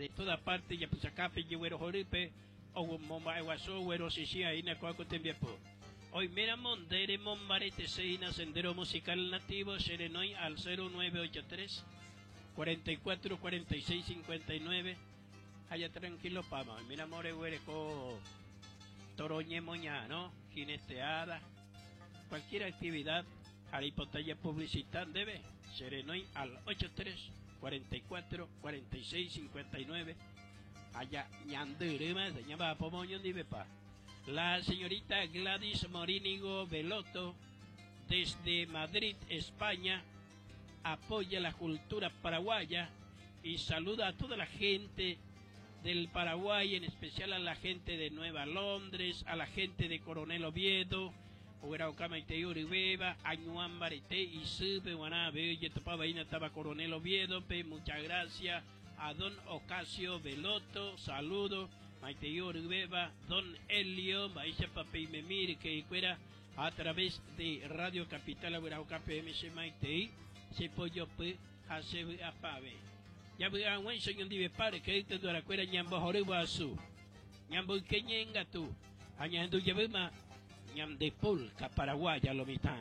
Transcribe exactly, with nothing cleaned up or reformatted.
De toda parte japysakápe jeguerohorýpe omomba'eguasu oguerosĩsĩhína ko'ã ko tembiapo. Oiméramo nde remombareteséina Sendero Musical Nativo, cherenói al cero nueve ocho tres cuarenta y cuatro cuarenta y seis cincuenta y nueve. Allá tranquilo pama. Oiméramo reguereko toro ñemoña, jineteada, cualquier actividad, reipota publicitar ndéve, cherenói al ochenta y tres cuarenta y cuatro cuarenta y seis cincuenta y nueve. Allá ñandyrýma ñamba'apo oñondivepa. La señorita Gladys Morínigo Veloto, desde Madrid, España, apoya la cultura paraguaya y saluda a toda la gente del Paraguay, en especial a la gente de Nueva Londres, a la gente de Coronel Oviedo, Beba, Añuambarete y Sube, Guanabe, estaba Coronel Oviedo, muchas gracias a don Ocasio Veloto, saludo, maitei Beba, don Elio, mba'éichapa peimemíre que fuera a través de Radio Capital K P M C maitei, se pollo p hase apave. Ya vy'ag̃uáicha oñondive pare que tuarakuéra ñambohory guasu. Ñamboyke ñe'ẽngatu ha ñahendu jeýma ñande polka paraguaya lo mitã.